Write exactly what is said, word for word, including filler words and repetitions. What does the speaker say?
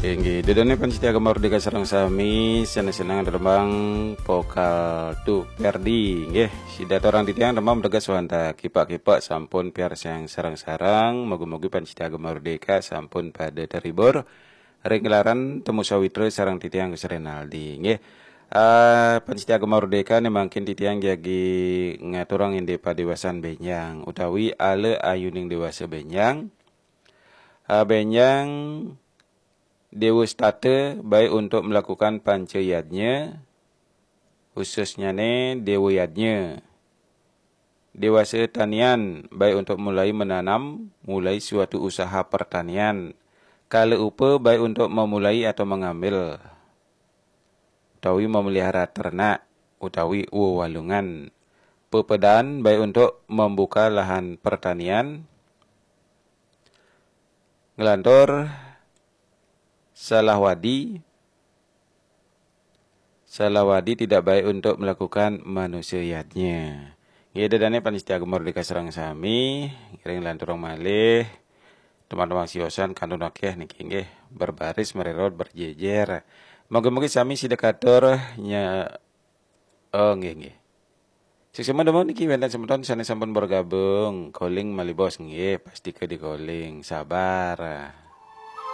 Inggih, ida dané pamiarsa Gema Merdeka sareng sami, seneng-seneng rembang vokal tu Ferdi, nggih. Sida aturang titiang rembang mreges wantah kipak-kipak sampun piarsayang sareng-sareng, mugi-mugi pamiarsa Gema Merdeka sampun pada terhibur ring gelaran Temu Sawitra sareng titiang Gus Renaldi, nggih. Eh, pamiarsa Gema Merdeka né mangkin titiang jagi ngaturang indik padéwasan bénjang utawi ala ayuning déwasa bénjang. Eh, bénjang Déwa Setata baik untuk melakukan panca yadnya, khususnyané Déwa Yadnya. Déwasa tanian baik untuk mulai menanam, mulai suatu usaha pertanian. Kala upa baik untuk memulai atau mengambil, utawi memelihara ternak, utawi wewalungan. Pepedan baik untuk membuka lahan pertanian. Nglantur salah wadi, salah wadi tidak baik untuk melakukan manusia yadnya. Nggih, ida dané pamiarsa Gema Merdeka sareng sami, ngiring lanturang malih. Teman-teman siosan kantun akéh niki nggih, berbaris mererot berjejer. Mugi-mugi sami sida katur nya Oh, nggih, nggih. Suksma dumun niki wénten semeton sané sampun bergabung. Calling malih bos nggih, pastika di calling. Sabar.